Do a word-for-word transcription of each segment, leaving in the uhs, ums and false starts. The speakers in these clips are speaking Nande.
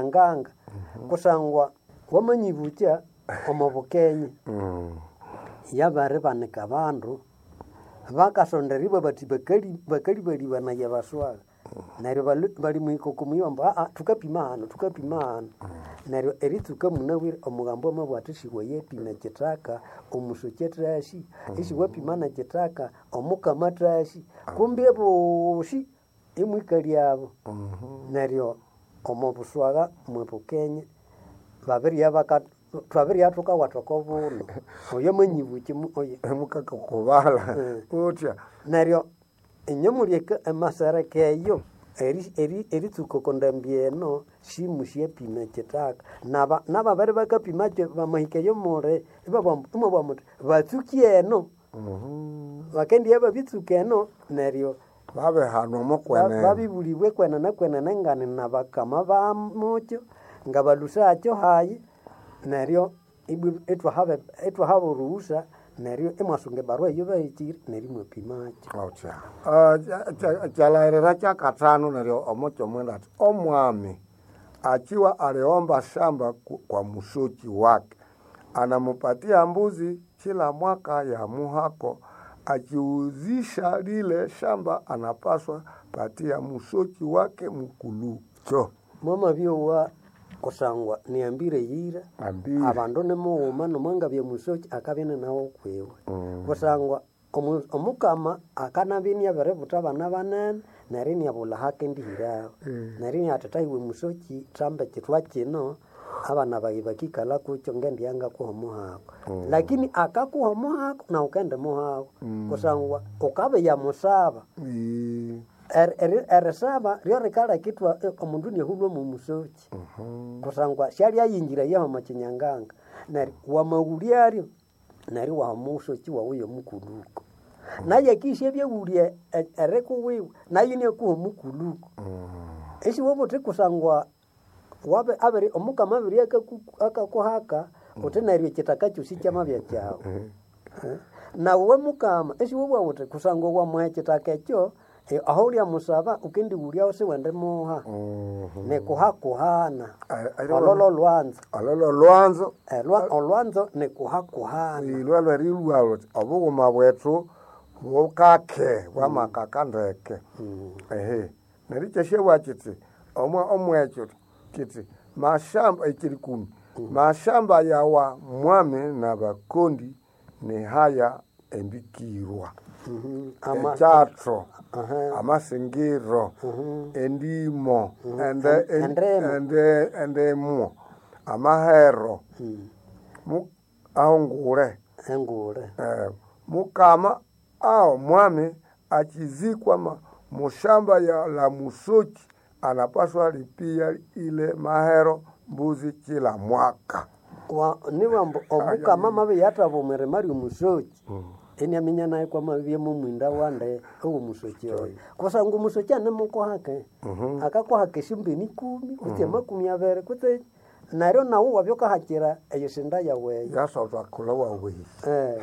Nganga kusangwa wamanyibukya omo bukenye Mm. yabaribanika abandu bakasonderibwa bathi bakali bakalibalibanaya baswaga neryo balu- bali muhika omuyi ambu aa thukapima hano thukapima hano neryo eritsuka munabwire omugambo amabugha athi siwayapima ekithaka omusoki athasi isiwapima nekithaka omukama athasi kumbi abosi imwikalyabo neryo omo buswagha mwe bukenye babirya baka twabirya thukawatha oko buno oyo amanyibukya mu- oyo Mukakakubala Mm. utya neryo inye muli eka- emasereka eyo eri- eri- eritsuka oko ndambi eno simusyapima ekithaka naba nababere bakapimakyo bamahika eyo muli ibabwa muthi batsuki eno bakendibya babitsuka eno neryo babihanwa ba- mukwenene babibulibwa kwenene kwenene ngani nabakama bamukyo ngabalusakyo hayi neryo ibwi- ithwahaba ithwahaba oruhusa neryo imwasunga ebarua eyo bahikire neryo imwapimakyo utya Ah, kya- kya- kyalahirira kyakathanu neryo omukyo mwenda ati omwami akiwa aliomba shamba ku- kwa musoki wake anamupatia mbuzi kila mwaka ya muhako akiuzisha lile shamba anapaswa patia musoki wake mukulucho mwamabyowa kusangwa niambire yira Ambire. abandu nimughuma nomwangabya musoki akabya ninawo kwiwe kusangwa omu- omukama akanabya iniabiributha abana banene neryo iniabulha hakendihiraho neryo iniathi thayiwe musoki thamba ekithwa kino abana bayi bakikalha kukyo ngendiya ngakuha omuhako lakini akakuha omuhako nawu ukendimuhako kusangwa ukabiya musaba Ii. Er- eri- erisaba ryorikaleka ithwa omundu inahulwa mwomusoki kusangwa syalyayingira yahoma kinyanganga neryo wamawulyaryo neryo waha omusoki wawu yomukuluko naye akisya ebyawulya e- erikuwiwe naye inakuha omukuluko isiwaba uthi kusangwa wabe abiri omukama abiri akaku- akakuhaka uthi neryo ekithaka kyosi kyamabya kyawu Eh? Nawe mukama esiwobwa uthi kusangwa wamuha ekithaka ekyo eh, aho ulyamusaba ukendiwulyaho siwendimuha nikuhakuhana Ai- ai- ololo lwanzo ololo lwanzo Elwa- olwanzo nikuhakuhana ilwalwa rilwa luthi obughuma bwethu bukake bwamakaka ndeke ehe neryo kyasyabwa kiti omwe omwekyo kiti mashamba ekiri kumi mashamba yawa mwami na bakondi ni haya embikirwa Mhm. Ama- ekyatho Aha. amasingiro endimo ende- En- endemo. ende- endemo amahero Mu- ahongule engule Eh, mukama ao mwami achizikwa ma- mushamba ya la musoki anapaswa lipia ile mahero mbuzi kila mwaka Wa- niwambu omukama mabi yathaba omwirima lyomusoki iniaminya naye kwamabya mumwinda wande owomusoki oyo kusangwa omusoki anemukuhake akakuhaka esyombeni ikumi kutse amakumi abiri kutse neryo nawu wabya ukahakira eyisinda yawu eyo yasotwa kula wawehi Eh,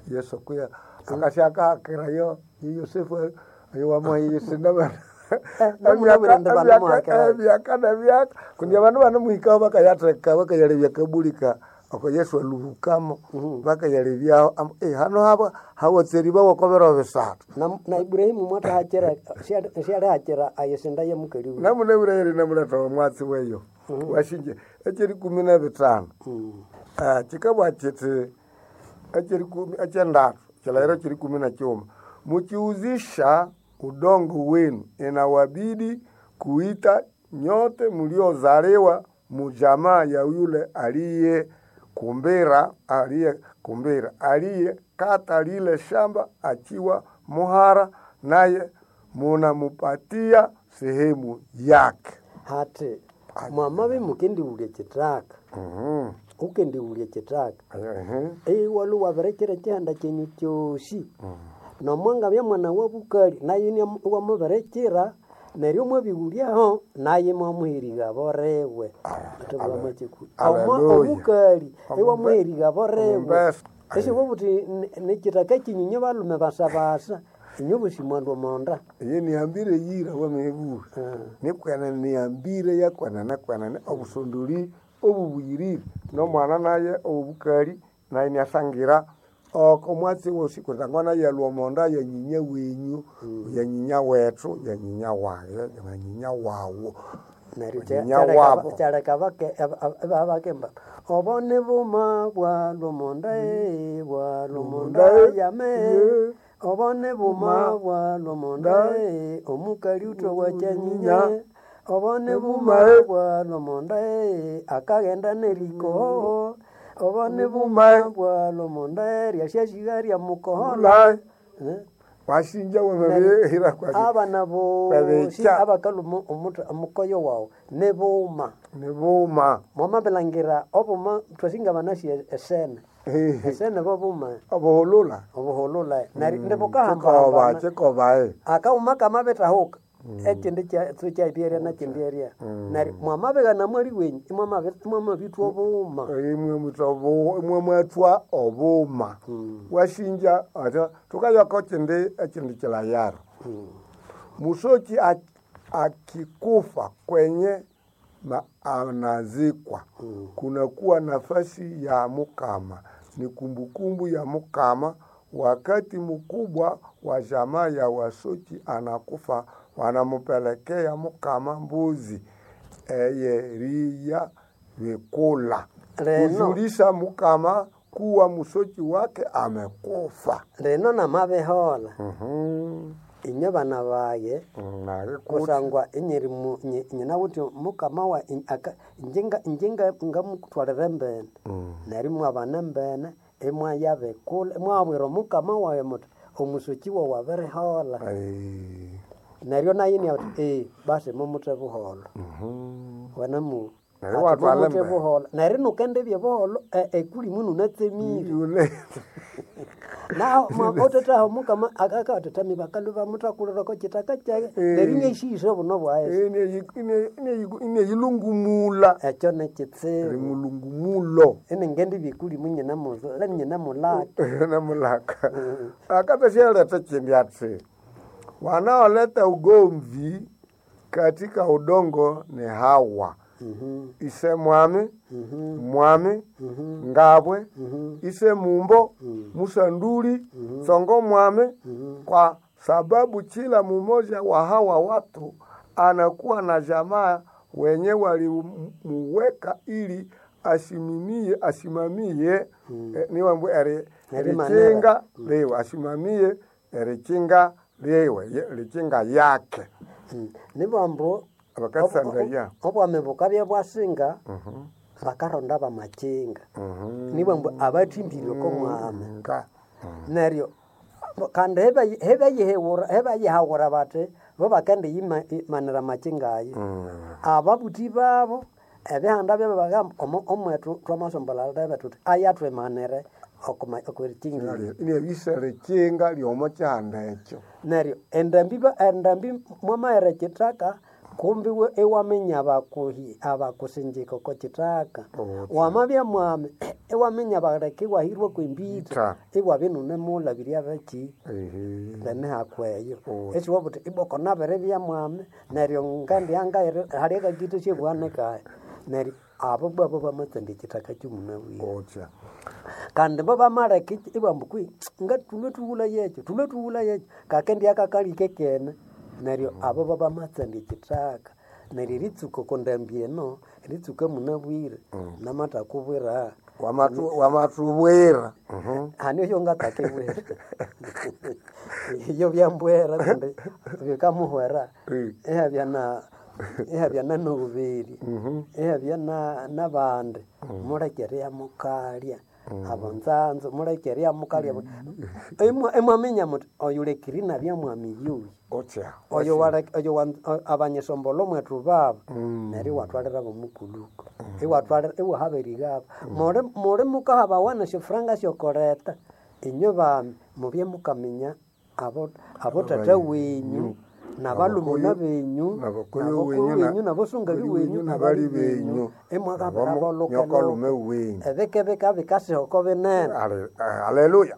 yesu kuya akashakahakirayo yosefu wamuhiyisinda Eh, namunabwire ndi banamuhakirayo. byaka na byaka kundi abandu banamuhikaho bakayatheka bakayalebya kabulika oko yesu aluhukamo bakayalebyaho ambu, "Eh, hano haba hawatseri bawakobero bisathu na, na Ibrahimu mwatahakira syalihakira ayisinda yamukali wiwe namunabwire yeri namuletha omwatsi weyo washinje ekyeri kumi na bitano Ah, kikabwa kiti ekyeri kumi ekyendatu kilairo kiri kumi na kyuma mukiuzisha udongo wenu inawabidi kuita nyote mliozaliwa mujamaa ya yule aliye kumbira aliye kumbira aliye kata lile shamba akiwa muhara naye munamupatia sehemu yake hati mwamabi mukendiwulya ekithaka Mhm. ukendiwulya ekithaka Ehe. iwalu wabirekera ekihanda kyenyu kyosi nomwangabya mwana wa bukali naye iwamubirekera neryo mwabiwulyaho naye mwamuheriga boriwe Hallelujah. omukali Omumbe- iwamuheriga boriwe Omumbesa. esiwobuthi nekithaka kinyinyi balume basabasa Inyo busi mwandu omonda. Eye nihambire yira wamebura. Nikwenene nihambire yakwenene kwenene obusondoli obubuyirire nomwana naye obubukali naye niasangira oko mwatsi wosi kusangwa naye alwa omonda ya nyinya wenyu ya nyinya wethu ya nyinya waye ya nyinya wawu Neryo nyinya wabo. kyaleka bakemba obo ni buma bwa lwomonda eh, bwa lwomonda Lwomonda, yame ye. obo ni buma bwa lwomonda eh, omukali uthowa kyanyinya obo ni buma Buma, bwa lwomonda eh, akaghenda neriko obo ni Buma. buma bwa lwomonda eh, ryasyashiga ryamukohola Mulai Eh? wasinja wamabihira kwaki abana bosi Babecha. abakaluma omuta- omukoyo wawu nibuma nibuma mwamabilangira obuma twasinga banasi esene esene bobuma obuhulula obuhulula neri kikoba nibukahambahambana kikoba eh. akauma kamabitahuka ekindi kyaibyeria nakindi eria neri mwamabigana mwali wenyu imwamabi- imwamabithwa obuma imwe mutwa imwe mwatwa obuma wasinja ata tukayako kindi ekindi kilayaro musoki ak- akikufa kwenye ma, anazikwa kunakuwa nafasi ya mukama ni kumbukumbu ya mukama wakati mkubwa wa jamaa ya wasoki anakufa wanamupelekea mukama mbuzi eyeriya vikula Leno. kujulisha mukama kuwa musoki wake amekufa. lino namabihola Mhm. inywe bana baye Nalikuti. kusangwa inyeri mu- nyi- nyinawuthi mukama wa in- aka- inje nga- ngamutwalira embene neryo imwabana embene imwayabikula imwabwira omukama wayi muthi omusoki wawu abirihola Ai. neryo naye iniathi ee basi mumuthe buholo Mhm. wanamu Neryo ati iwatwala mumuthe embene. buholo neryo nukendibya buholo e- ekulimu nunatsemire Yule. naho othethaho mukama akakathethami bakalu bamuthakulirako kitaka kyake neryo inyaisihisa obuno bwaye Ine ine ine ine yilungumula. ekyo nekitsibu Rimulungumulo. inengendi bikulimu nyina muzo- nyina mulaka Namulaka. Akatosheleta chindi ati wanaoleta ugomvi katika udongo ni hawa ise mwami mwami ngabwe ise mumbo musanduli tsongo mwami kwa sababu kila mumoja wa hawa watu anakuwa na jamaa wenye walimuweka ili asimamie asimamie eh, niwambu eri Erimanera. erikinga liwe asimamie erikinga liwe ye- likinga yake Mm. nibambu Abakasandaya. obwami bukabya bwasinga bakaronda bamakinga nibambu abathimbire okomwami nga neryo kandi hebayihewura hebayihawura bati bo bakendiyimanira amakinga ayo ababuthi babo ebihanda byabo bagamba "Omo- omwetu twamasombolha tuthi ayatwimanire okurikingira inebisa likinga lyomo kyihanda ekyo neryo endambi ba- endambi mwamaghera ekithaka kumbi we- iwaminya abakuhi abakusinjika oko kithaka Otya. wamabya mwami iwaminya baleka iwahirwa kwembitha Ita. iwabya inunemulabirya baki Ehe. lemihako eyo Otya. esiwabuthi iboko nabiribya mwami neryo ngandiangaire hali akakitha syebwanikaye neryo abo babo bamatsanda ekithaka kyomunabwire Otya. kandi bo bamaleka ibambu kwi nga thulwe thughula yekyo thulwe thughula yekyo kakendi akakalike kene neryo abo babamatsanda ekithaka neryo eritsuka okondambi eno eritsuka munabwire namathakubwira Wamatu- wamatubwira Mhm. hani oyo ngatakibwira iyo byambwera kundi bikamuhwera Mm. ihabya na ihabya na nobubiri ihabya na nabandi mulekereya mukalya abo nzanzo mulekereya mukalya Imwa- imwaminya muti oyu lekiri nabya mwami yuyu Otya. oyo wale- oyo wan- o- abanyesombolo mwetu babo neryo iwatwalira bomukuluko iwatwalira iwahaberigabo muli muli mukahabawana syofuranga syokoleta inywe bami mubye mukaminya abo abo tata wenyu Nabalumuna benyu Nabakoyo nabakuru wenyu na- benyu nabasungali wenyu wenyu nabali benyu imwakabira nyokalume wenyu ebikebika bikasihoko binene. Ale- Haleluya.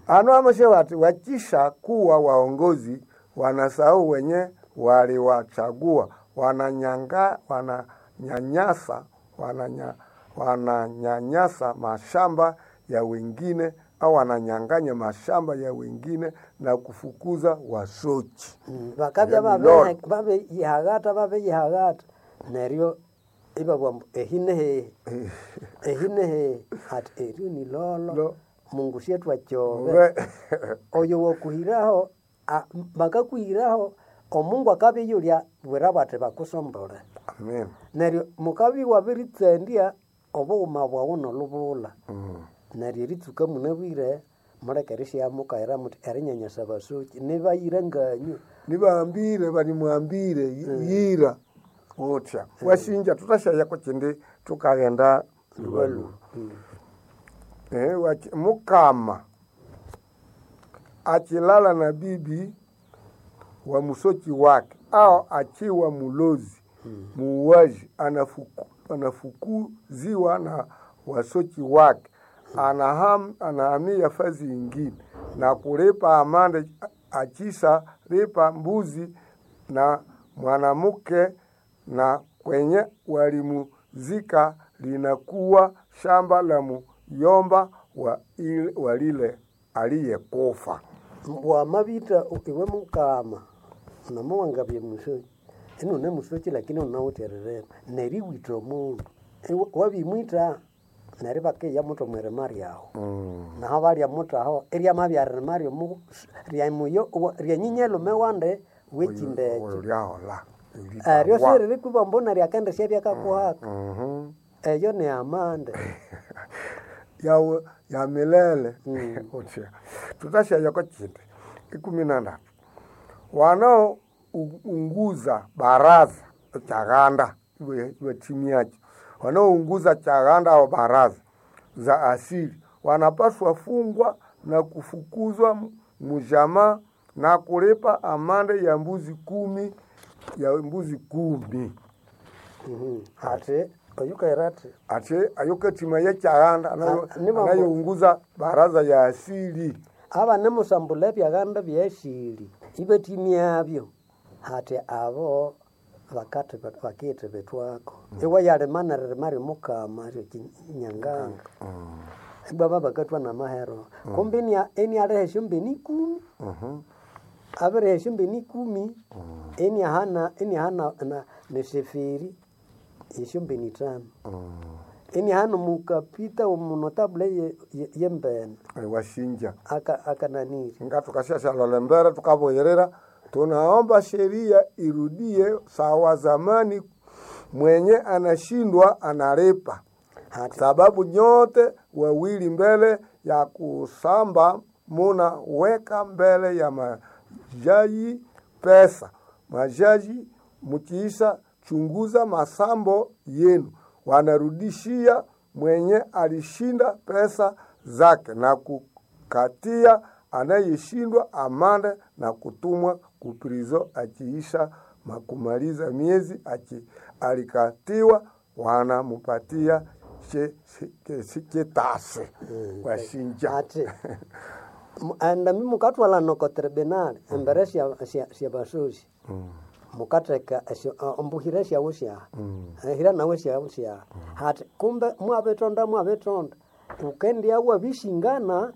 Ano amashe wati wakisha kuwa waongozi wanasahau wenye waliwachagua, wananyanga wananyanyasa wananya, wananyanyasa mashamba ya wengine au wananyang'anya mashamba ya wengine na kufukuza wasochi. Mm, bakabya Ya milolo. babeyihagata babeyihagata neryo ibabugha ambu ehi nehehe ehi nehehe ati eryo ni lolo Lo. Mungu syetwakyove Ube- oyo wakuhiraho a- bakakuhiraho omungu akabiyulya bwira bati bakusombole. Amen. Neryo mukabya iwabiritsandya obughuma bwawu nolubulha. Mm. Neryo eritsuka munabwire muleke erisyamukaira muthi erinyanyasa abasoki nibayira nganywe. Nibambire banimwambire yira utya washinja tutashaya kuchindi tukaghenda lubaluba. Eh, wachi- mukama achilala na bibi wa musochi wake au achiwa mulozi muuaji anafuku, anafukuziwa na wasochi wake anaham, anahamia fazi ingine na kulipa amande achisa lipa mbuzi na mwanamke na kwenye walimuzika linakuwa shamba la muyomba wa, ile- wa lile aliyekufa. Wamabitha iwe mukama namuwangabye musoki inune musoki lakini unawithe eririma neriwitha omundu Iwe- wabimwitha neryo bakiya muthi omwirima ryawu. Naho balya muthi aho iryamabya ririma ryomu ryamuyo ryanyinya-lhume wandi wekindi ekyo. Oyo lyahola Eryo siririkwiba mbu neryo akendisya byakakuhaka. Eyo ni amande. Yawe ya milele utya tutashayako chindi ikumi na ndatu wanaounguza baraza chaghanda iwe iwe timu yacho wanaounguza chaghanda au baraza za asili wanapaswa fungwa na kufukuzwa mu- mujamaa na kulipa amande ya mbuzi kumi ya mbuzi kumi. Mhm. Ati oyukaira athi Ati ayo katima ye chaghanda anayo- Ah, ni mambo- anayounguza baraza ya asili. aba nimusambula ebyaghanda byesili ibatimyabyo hati abo bakati bakithibithwako iwe yalima neririma ryomukama ryekinyanganga ibaba bakathwa namahero kumbe inia- inialeha esyombene ikumi. Abireha esyombene ikumi iniahana iniahana na- neseferi esyombene ithanu iniahana omukapita omunotabule ye- ye- yembene Washinja aka akananiri nga tukashashalala mbere tukabuyirira tunaomba sheria irudie sawa zamani mwenye anashindwa analipa hati sababu nyote wawili mbele ya kusamba munaweka mbele ya majaji pesa majaji mkiisha chunguza masambo yenu wanarudishia mwenye alishinda pesa zake na kukatia anayeshindwa amande na kutumwa kuprizo akiisha makumaliza miezi aki, alikatiwa wanamupatia che- che- che- chetase washinja ati mu- enda mukatwala noko tribunal embere sya sya sya basosi mukatheka esyo ombuhira syawu syaha ehira nawe syawu syaha hati kumbe mwabitonda mwabitonda ukendia wabishingana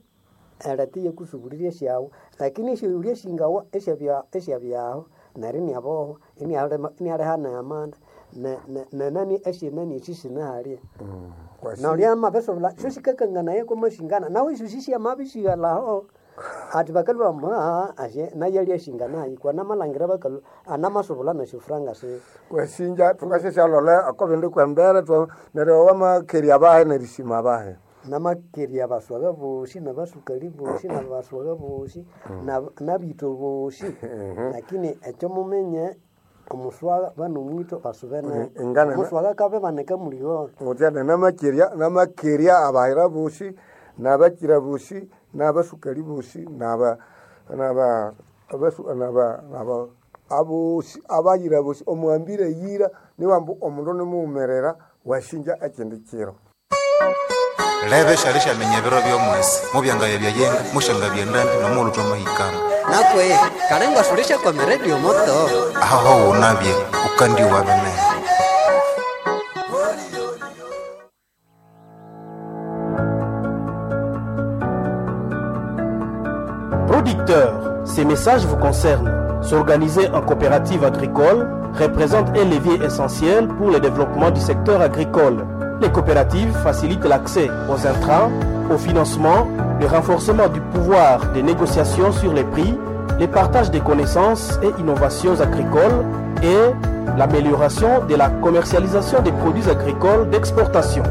eleti yekusubuliria syawu lakini esyo shingawa esyabya esyabyaho neryo iniabohwa inialema inialehana amanda ne- ne- nenani esyenani esi sinahalya naulya mabesobola syo sikakanganaye kwamashingana nawe esyo sisyamabisighalaho ati bakalwa ma ashe nayalya shinganayi kwanamalhangira bakalwa anamasobola nasyo franga si washinja tukashashalole akobindi kwembere twa- neryo wamakeria bahe nerishima bahe namakeria baswaga bosi nabasukali bosi nabaswaga bosi na- nabito bosi lakini ekyo mumenye omuswaga banomwito basubene Ingana- omuswaga kabe baneka muliona utya namakeria namakeria abahira bosi nabakira bosi nabasukali bosi naba naba abasu naba naba Abosi abayira bosi omuhambire yira niwambu omundu nimuwumerera washinja ekindi kiro. Lebe shali shamenya ebiro by'omwesi mubyangabya byayenga mushangabya endambi nomulutwa mahikana. Nakwe kalengwa sulisha kwa meredio moto. Aho wunabye ukandiwa binene. Producteurs, ces messages vous concernent. S'organiser en coopérative agricole représente un levier essentiel pour le développement du secteur agricole. Les coopératives facilitent l'accès aux intrants, au financement, le renforcement du pouvoir des négociations sur les prix, le partage des connaissances et innovations agricoles et l'amélioration de la commercialisation des produits agricoles d'exportation.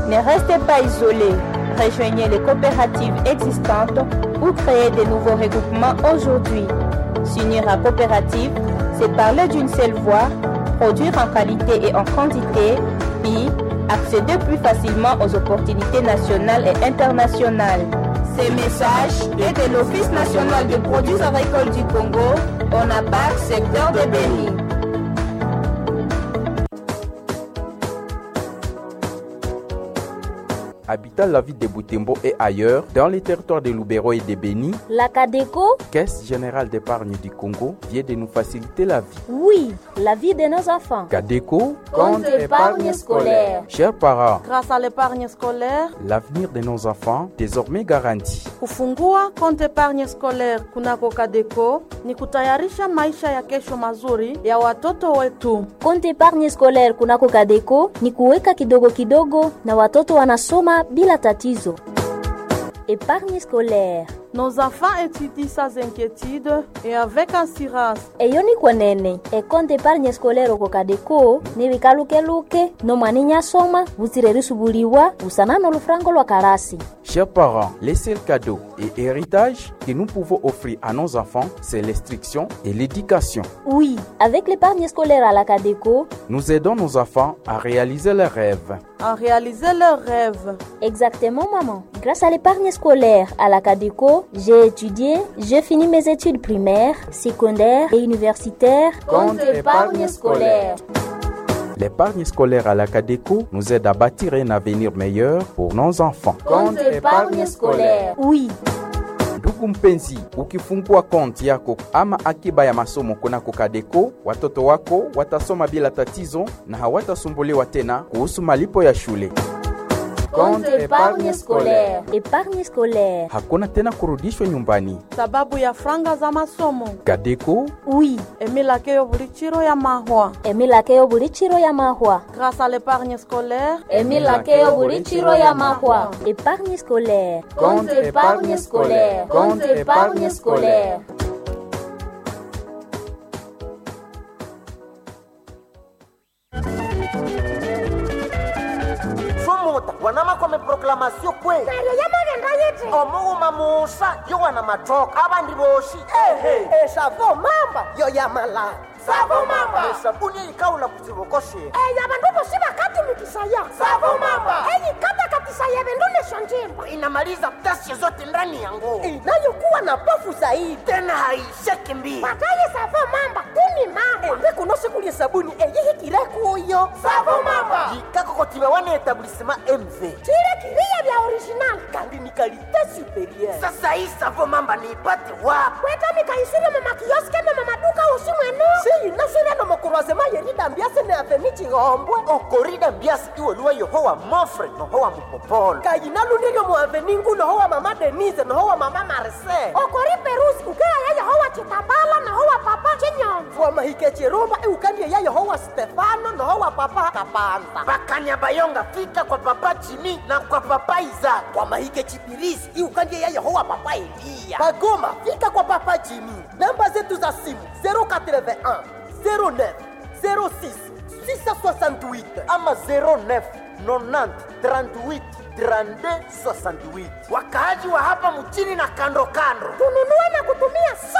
Ne restez pas isolés. Rejoignez les coopératives existantes ou créez de nouveaux regroupements aujourd'hui. S'unir à coopérative, c'est parler d'une seule voix, produire en qualité et en quantité, puis accéder plus facilement aux opportunités nationales et internationales. Ces messages est de l'Office national des produits agricoles du Congo, ONAPAC, secteur de Béni. Habitant la ville de Butembo et ailleurs, dans les territoires de Lubero et de Beni, la Cadeco, Caisse Générale d'Épargne du Congo, vient de nous faciliter la vie. Oui, la vie de nos enfants. Cadeco, compte épargne scolaire. Chers parents, grâce à l'épargne scolaire, l'avenir de nos enfants désormais garanti. Kufungua compte épargne scolaire kunako Cadeco ni kutayarisha maisha ya kesho mazuri ya watoto wetu. Compte épargne scolaire kunako Cadeco ni kuweka kidogo kidogo na watoto wanasoma bila tatizo. Épargne scolaire. Nos enfants étudient sans inquiétude et avec assurance. Eyo ni kwenene ekonte épargne scolaire oko Cadeco ni bikalukeluke nomwani nyasoma butsire risubuliwa busana n'olufrango lwa karasi. Chers parents, les seuls cadeaux et héritages que nous pouvons offrir à nos enfants, c'est l'instruction et l'éducation. Oui, avec l'épargne scolaire à la Cadeco, nous aidons nos enfants à réaliser leurs rêves. À réaliser leurs rêves. Exactement, maman. Grâce à l'épargne scolaire à la Cadeco, j'ai étudié, j'ai fini mes études primaires, secondaires et universitaires. Compte épargne scolaire. L'épargne scolaire à la Cadeco nous aide à bâtir un avenir meilleur pour nos enfants. Compte épargne scolaire. Oui. Ndugu mpenzi, ukifungua konti yako ama akiba ya masomo kunako Cadeco, watoto wako watasoma bila tatizo na hawatasumbuliwa tena kuhusu malipo ya shule. Compte épargne scolaire. Épargne scolaire. Hakuna tena kurudishwa nyumbani sababu ya franga za masomo. Cadeco. Oui. Emilakeyo buli chiro ya mahwa. Emilakeyo buli chiro ya mahwa. Grâce à l'épargne scolaire. Emilakeyo buli chiro ya mahwa. Épargne scolaire. Compte épargne scolaire. Compte épargne scolaire. Sumuta wanamakome proclamation kwe neryo yamagenda yiti omughuma musa yo wana mathoka abandi bosi ehe esavo mamba yo yamala savo mamba esabuni eyikawula kutsibokoshe eyo abandu bosi bakatumikisaya savo mamba eyikatakatisaye bindu nesho njimba inamaliza ghasia zote ndani ya nguo inayokuwa na pofu zaidi tena haisheki mbili pataye savo mamba tuni mamba ende sikulye sabuni eyihikire kuyo savo mamba jikakokotiba wana etablissement mv chile kiriya bya original kandi ni kalite superieur sasa hii savo mamba niipate wapi kwetamikaisire mumakioske ne mumaduka usi mwenu siyinasire nomukurwazema yeridambiase ne aveni chihombwe okorida mbiasi iweluwa yohowa mofre nohowa mupopolo kayinalundiryo muaveni ngu nohowa mama denise nohowa mama marse okori perusi ukeaya yehowa chitambala nohowa papa chinyonzo wamahike chirumba iukandie ya yehowa stefano nohowa papa kapanza bakanyabayonga fika kwa papa jimi na kwa papa izaka wamahike chipirisi iukandie ya yehowa papa eliya bagoma fika kwa papa jimi namba zetu za simu zéro quatre-vingt-un zéro neuf zéro six six cent soixante-huit ama zéro neuf nonante trente-huit trente-deux soixante-huit. Wakaaji wa hapa mchini na kando kando, tununue na kutumia so